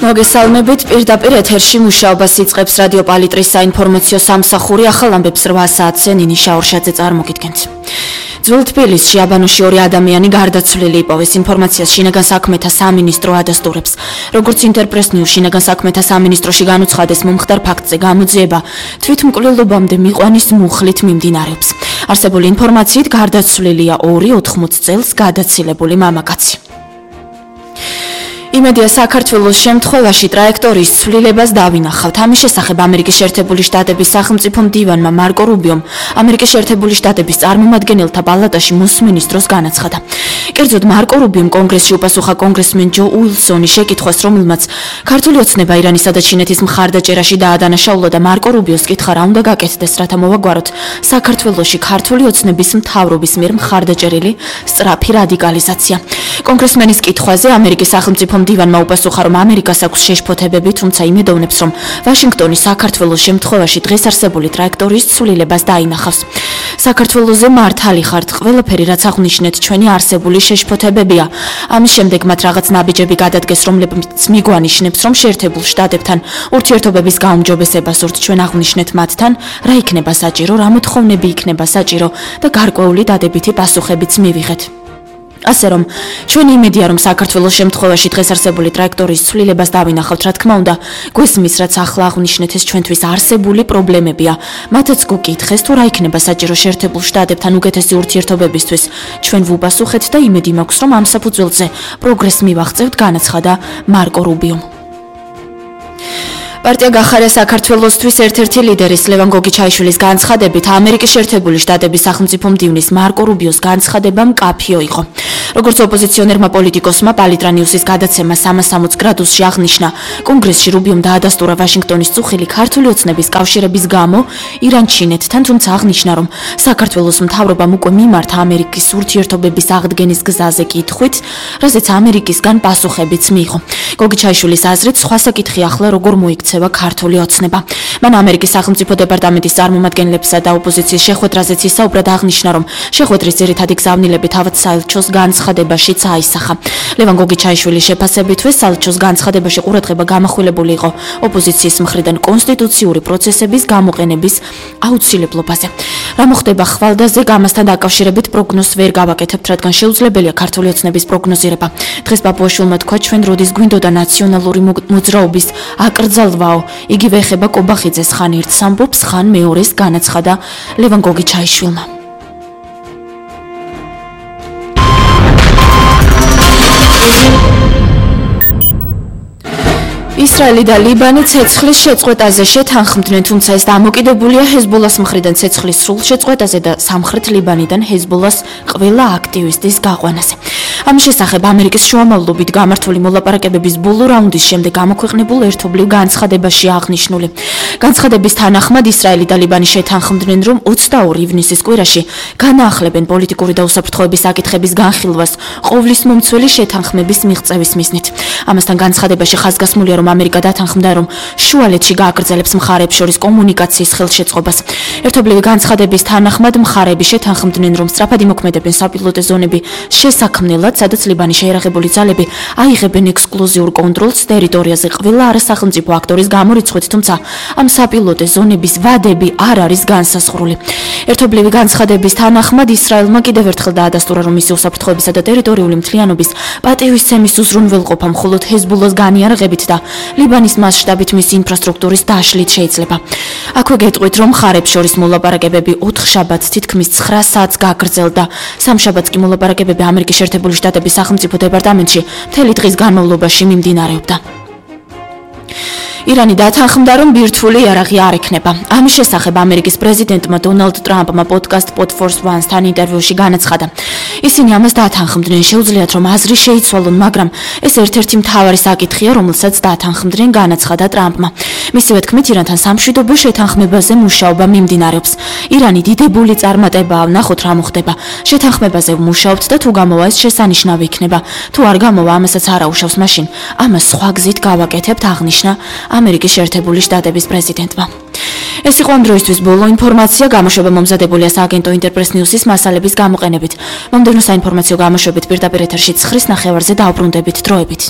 მოგესალმებით, პირდაპირ ეთერში მუშაობას იწყებს რადიო პალიტრის საინფორმაციო სამსახური. ახალ ამბებს 8 საათზე ნინი შაურშაძე წარმოგიდგენთ. ძველ თბილისში აბანოში 2 ადამიანი გარდაცვლილი იპოვეს. ინფორმაციას შინაგან საქმეთა სამინისტრო ადასტურებს. როგორც ინტერპრეს ნიუს შინაგან საქმეთა სამინისტროში განუცხადეს, მომხდარ ფაქტზე გამოძიება თვითმკვლელობამდე მიყვანის მუხლით მიმდინარეობს. არსებული ინფორმაციით გარდაცვლილია 2-80 წელს გადაცილებული მამაკაცი. იმედია საქართველოს შემთხვევაში ტრაექტორიის ცვლილებას დავინახავთ. ამის შესახებ ამერიკის შეერთებული შტატების სახელმწიფო მდივანმა მარკო რუბიომ ამერიკის შეერთებული შტატების წარმომადგენელთა პალატაში მოსმენის დროს განაცხადა. კერძოდ მარკო რუბიომ კონგრესში უპასუხა კონგრესმენ ჯო უილსონის შეკითხვას, რომელმაც ქართული ოცნება ირანისა და ჩინეთის მხარდაჭერაში დაადანაშაულა და მარკო რუბიოს კითხა რა უნდა გაკეთდეს, რათა მოვაგვაროთ საქართველოში ქართული ოცნების მთავრობის მიერ მხარდაჭერილი სწრაფი რადიკალიზაცია. კონგრესმენის კითხვაზე ამერიკის სახელმწიფო მდივანმა უპასუხა, რომ ამერიკას აქვს შეშფოთებები, თუმცა იმედოვნებს, რომ ვაშინგტონი საქართველოს შემთხვევაში დღეს არსებული ტრაექტორიის ცვლილებას დაინახავს. საქართველოზე მართალი ხართ, ყველაფერი რაც აღნიშნეთ ჩვენი არსებული შეშფოთებებია. ამის შემდეგ მათ რაღაც ნაბიჯები გადადგეს, რომლებიც მიგვანიშნებს, რომ შეერთებულ შტატებთან ურთიერთობების გაუმჯობესება სურთ. ჩვენ აღნიშნეთ მათთან, რა იქნება საჭირო, რა მოთხოვნები იქნება საჭირო და გარკვეული დადებითი პასუხებიც მივიღეთ. ასე რომ ჩვენი იმედია, რომ საქართველოს შემთხვევაში დღეს არსებული ტრაექტორიის ცვლილებას დავინახავთ, რა თქმა უნდა, გვესმის, რაც ახლა აღნიშნეთ ეს ჩვენთვის არსებული პრობლემებია. მათაც გუკითხეს, თუ რა იქნება საჭირო შეერთებულ შტატებთან უკეთესი ურთიერთობებისთვის. ჩვენ ვუპასუხეთ და იმედი მაქვს, რომ ამ საფუძველზე პროგრესს მივაღწევთ, განაცხადა მარკო რუბიომ. პარტია გახარია საქართველოსთვის ერთ-ერთი ლიდერის ლევან გოგიჩაიშვილის განცხადებით, ამერიკის შეერთებული შტატების სახელმწიფო მდივნის მარკო რუბიოს განცხადება მკაფიო იყო. როგორც ოპოზიციონერმა პოლიტიკოსმა პალიტრა ნიუსის გადაცემა 360 გრადუსში აღნიშნა, კონგრესში რუბიომ დაადასტურა ვაშინგტონის წუხილი ქართული ოცნების კავშირების გამო ირან-ჩინეთთან, თუმცა აღნიშნა, რომ საქართველოს მთავრობამ უკვე მიმართა ამერიკის ურთიერთობების აღდგენის გზაზე კითხვით, რაზეც ამერიკისგან პასუხებიც მიიღო. გოგიჩაიშვილის აზრით, სხვა საკითხი ახლა როგორ მოიქცევა ქართული ოცნება. მან ამერიკის სახელმწიფო დეპარტამენტის წარმომადგენლებსა და ოპოზიციის შეხვედრაზეც ისაუბრა, აღნიშნა, რომ შეხვედრის ძირითადი გზავნილები თავად საელჩოს განცხადებაშიც აისახა. ლევან გოგიჩაიშვილის შეფასებითვე საელჩოს განცხადებაში ყურადღება გამახვილებული იყო ოპოზიციის მხრიდან კონსტიტუციური პროცესების გამოყენების აუცილებლობაზე. რა მოხდება ხვალდაზე, ამასთან დაკავშირებით პროგნოზს ვერ გავაკეთებთ, რადგან შეუძლებელია ქართული ოცნების პროგნოზირება. დღეს ბაბუაშვილმა თქვა, ჩვენ როდის გვინდოდა ნაციონალური მოძრაობის აკრძალვაო, იგივე ეხება კობახიძეს, ხან ერთს ამბობს, ხან მეორეს, განაცხადა ლევან გოგიჩაიშვილმა. ისრაელი და ლიბანი ცეცხლის შეწყვეტაზე შეთანხმდნენ, თუმცა ეს დამოკიდებულია ჰეზბოლას მხრიდან ცეცხლის სრულ შეწყვეტაზე და სამხრეთ ლიბანიდან ჰეზბოლას ყველა აქტივისტის გაყვანაზე. ამის შესახებ ამერიკის შუამავლობით გამართული მოლაპარაკებების ბოლო რაუნდის შემდეგ გამოქვეყნებულ ერთობლივ განცხადებაში აღნიშნული. განცხადების თანახმად ისრაელი და ლიბანი შეთანხმდნენ, რომ 22 ივნისის კვირაში განაახლებენ პოლიტიკური და უსაფრთხოების საკითხების განხილვას ყოვლის მომცველი შეთანხმების მიღწევის მიზნით. ამასთან განცხადებაში ხაზგასმულია, რომ ამერიკა დათანხმდა, რომ შუალედში გააგრძელებს მხარეებს შორის კომუნიკაციის ხელშეწყობას. ერთობლივი განცხადების თანახმად მხარეები შეთანხმდნენ, რომ სწრაფად იმოქმედებენ საპილოტე ზონები შესაქმნელად, სადაც ლიბანის შეიარაღებული ძალები აიღებენ ექსკლუზიურ კონტროლს ტერიტორიაზე ყველა არასახელმწიფო აქტორის გამორიცხვით, თუმცა ამ საპილოტე ზონების ვადები არ არის განსაზღვრული. ერთობლივი განცხადების თანახმად ისრაელმა კიდევ ერთხელ დაადასტურა, რომ მისი უსაფრთხოებისა და ტერიტორიული მთლიანობის პატივისცემის უზრუნველყოფა მხოლოდ ჰეზბოლას განიარაღებით და ლიბანის მასშტაბით მისი ინფრასტრუქტურის დაშლით შეიძლება. აქვე გეტყვით, რომ მხარეებს შორის მოლაპარაკებები 4 შაბათს თითქმის 9 საათს გაგრძელდა. სამშაბათს კი მოლაპარაკებები ამერიკის შეერთებული შტატების სახელმწიფო დეპარტამენტში მთელი დღის განმავლობაში მიმდინარეობდა. ირანი დათანხმდა, რომ ბირთვული იარაღი არ ექნება. ამის შესახებ ამერიკის პრეზიდენტმა დონალდ ტრამპმა პოდკასტ Pod Force One-თან ინტერვიუში განაცხადა. ისინი ამას დათანხმდნენ, შეუძლიათ რომ აზრი შეიცვალონ, მაგრამ ეს ერთ-ერთი მთავარი საკითხია, რომელსაც დათანხმდნენ, განაცხადა ტრამპმა. მისივე თქმით, ირანთან სამშვიდობო შეთანხმებაზე მუშაობა მიმდინარეობს. ირანი დიდებული წარმატებაა, ნახოთ რა მოხდება. შეთანხმებაზე ვმუშაობთ და თუ გამოვა ეს შესანიშნავი იქნება. თუ არ გამოვა, ამასაც არ აუშავს, მაშინ ამას სხვა გზით გავაკეთებთ, აღნიშნა ამერიკის შეერთებული შტატების პრეზიდენტმა. ეს იყო ამ დროისთვის ბოლო ინფორმაცია, გამოშვება მომზადებულია სააგენტო ინტერპრეს ნიუსის მასალების გამოყენებით. მომდევნო საინფორმაციო გამოშვებით პირდაპირ ეთერში 9:30-ზე დაუბრუნდებით დროებით.